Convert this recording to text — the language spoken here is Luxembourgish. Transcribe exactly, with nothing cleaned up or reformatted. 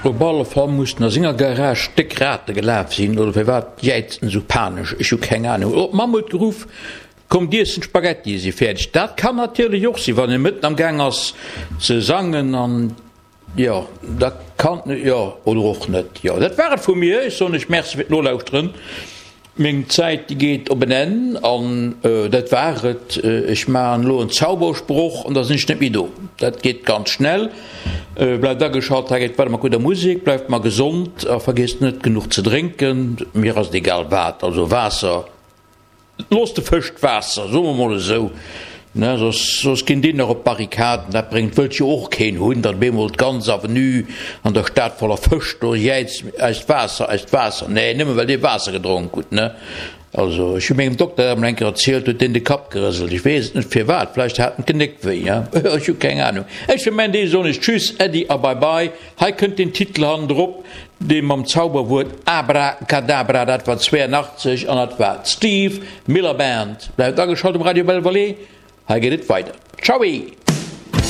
Op alle Fall mussen a senger Garage déck Rate gelaf sinn, oder firwat jäizt en esou panesch? Ech hu keng Anung. Oh, d'Mamm huet geruff, Kommt iessen, d'Spaghettie si fäerdeg. Dat kann natierlech och sinn, wann e mëtten am Gaang ass ze sangen an, jo, da kann, jo, oder och net. Jo, dat war et vu mir. Ech soen iech Merci fir d'Nolauschteren. Meng Zäit, déi geet op en Enn an dat war et. Ech maachen elo en Zaubersproch an da sinn ech net méi do. Dat geet ganz schnell. Bleift ageschalt, hei geet weider mat gudder Musek. Bleift mer gesond a vergiesst net genuch ze drénken. Mir ass et egal wat, also Waasser, loosst de Fësch d'Waasser, soe mer mol esou, ne, soss, soss ginn déi nach op d'Barrikaden. Dat bréngt, wëllt jo och keen hunn, datt op eemol d'ganz Avenue an der Stad voller Fësch do jäizt, Eist Waasser, eist Waasser! Nee, nëmme well dir Waasser gedronk hutt, ne? Also, ech hu mengem Dokter dat emol eng Kéier erzielt, huet deen de Kapp gerëselt. Ech weess et net firwat, vläicht hat en d'Genéck wéi, he? Ech hu keng Anung. Ech fir mäin Deel soen iech Tschüss, Äddi a Bye Bye. Hei kënnt den Titel hannendrop, dee mam Zauberwuert Abracadabra, dat war zweiundachtzeg an dat war d'Steve Miller Band. Bleift ageschalt um Radio Belle Vallée, hei geet et weider. Tschaui!